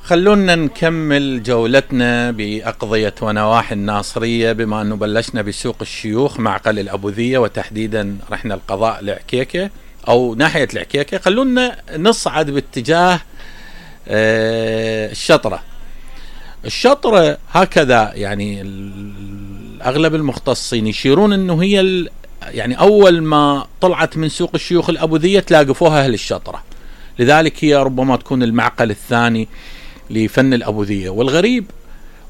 خلونا نكمل جولتنا بأقضية ونواحي الناصرية، بما أنه بلشنا بسوق الشيوخ معقل الأبوذية، وتحديدا رحنا القضاء العكيكة أو ناحية العكيكة. خلونا نصعد باتجاه الشطرة. الشطرة هكذا يعني أغلب المختصين يشيرون أنه هي يعني أول ما طلعت من سوق الشيوخ الأبوذية تلاقفوها أهل الشطرة، لذلك هي ربما تكون المعقل الثاني لفن الأبوذية. والغريب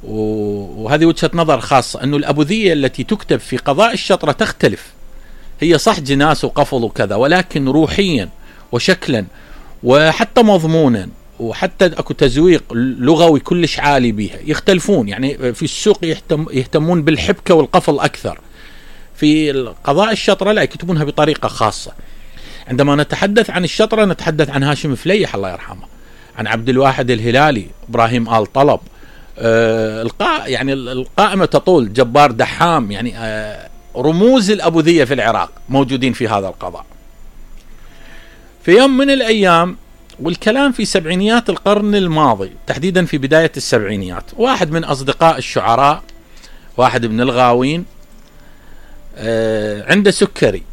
وهذه وجهة نظر خاصة أنه الأبوذية التي تكتب في قضاء الشطرة تختلف. هي صح جناس وقفل وكذا، ولكن روحيا وشكلا وحتى مضمونا وحتى اكو تزويق لغوي كلش عالي بها يختلفون. يعني في السوق يهتمون بالحبكة والقفل أكثر، في قضاء الشطرة لا، يكتبونها بطريقة خاصة. عندما نتحدث عن الشطرة نتحدث عن هاشم فليح الله يرحمه، عن عبد الواحد الهلالي، إبراهيم آل طلب، يعني القائمة تطول، جبار دحام، يعني رموز الأبوذية في العراق موجودين في هذا القضاء. في يوم من الأيام، والكلام في سبعينيات القرن الماضي، تحديدا في بداية السبعينيات، واحد من أصدقاء الشعراء، واحد من الغاوين، عنده سكري،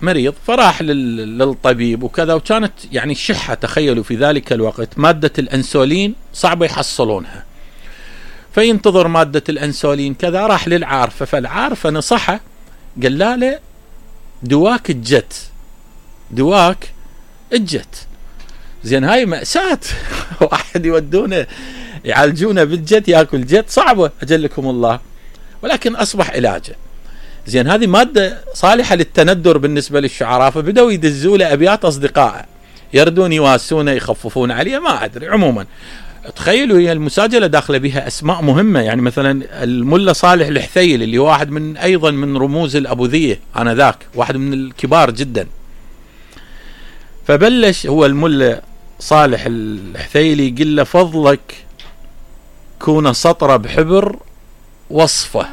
مريض، فراح للطبيب وكذا، وكانت يعني الشحة، تخيلوا في ذلك الوقت مادة الأنسولين صعبة يحصلونها، فينتظر مادة الأنسولين كذا. راح للعارفة، فالعارفة نصحه، قال له دواك الجت. زين هاي مأساة واحد يودونه يعالجونه بالجت، ياكل جت، صعبة أجلكم الله، ولكن أصبح علاجه. زين هذه مادة صالحة للتندر بالنسبة للشعراء، فبدأوا يدزوا له أبيات أصدقائه يردون يواسونه يخففون عليه، ما أدري. عموما تخيلوا هي المساجلة داخله بها أسماء مهمة، يعني مثلا الملا صالح الحثيل اللي هو واحد من أيضا من رموز الأبوذية آنذاك، واحد من الكبار جدا. فبلش هو الملا صالح الحثيلي يقول له فضلك كون سطرة بحبر وصفه،